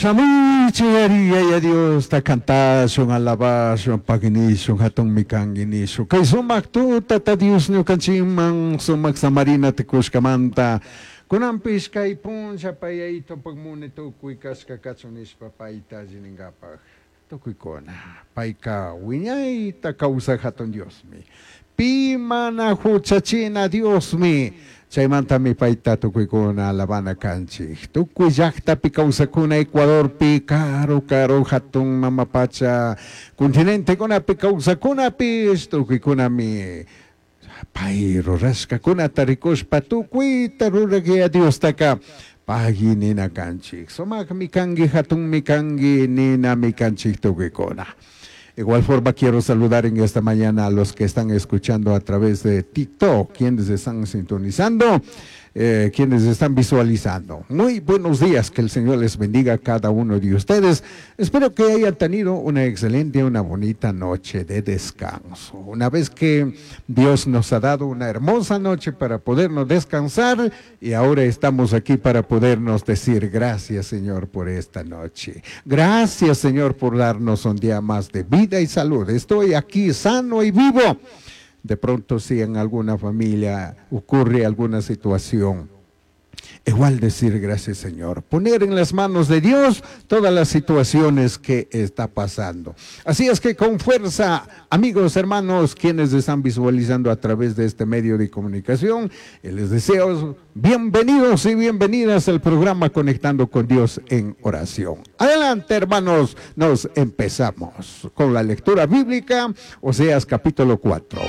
Shamuichik ari Yaya Diosta cantashun, alabashun, pagui nishun, hatunmi kanki nishun. Kay sumak tutata Dios ñukanchikman sumak samarinata kushkamanta kunanpish kay punlla pay Yayitopak muni tukuy kashka kachun nishpa payta alli ninkapak tukuykuna. Payka wiñayta kawsak hatun Diosmi. Pi mana huchachina Diosmi. Chaymantami payta tukuykuna alabana kanchik. Tukuy llaktapi kawsakuna Ecuadorpi, karu karu hatun mama pacha continentekunapi kawsakunapish tukuykunami pay rurashkakunata rikushpa tukuyta rurak Yaya Diostaka pagui nina kanchik. Sumakmi kanki, hatunmi kanki ninami kanchik tukuykuna. Igual forma quiero saludar en esta mañana a los que están escuchando a través de TikTok, quienes están sintonizando, quienes están visualizando. Muy buenos días, que el Señor les bendiga a cada uno de ustedes. Espero que hayan tenido una excelente, una bonita noche de descanso. Una vez que Dios nos ha dado una hermosa noche para podernos descansar y ahora estamos aquí para podernos decir gracias, Señor, por esta noche. Gracias, Señor, por darnos un día más de vida y salud. Estoy aquí sano y vivo. De pronto si en alguna familia ocurre alguna situación, igual decir gracias, Señor. Poner en las manos de Dios todas las situaciones que está pasando. Así es que con fuerza, amigos, hermanos, quienes están visualizando a través de este medio de comunicación, les deseo bienvenidos y bienvenidas al programa Conectando con Dios en Oración. Adelante, hermanos, nos empezamos con la lectura bíblica, Oseas capítulo 4.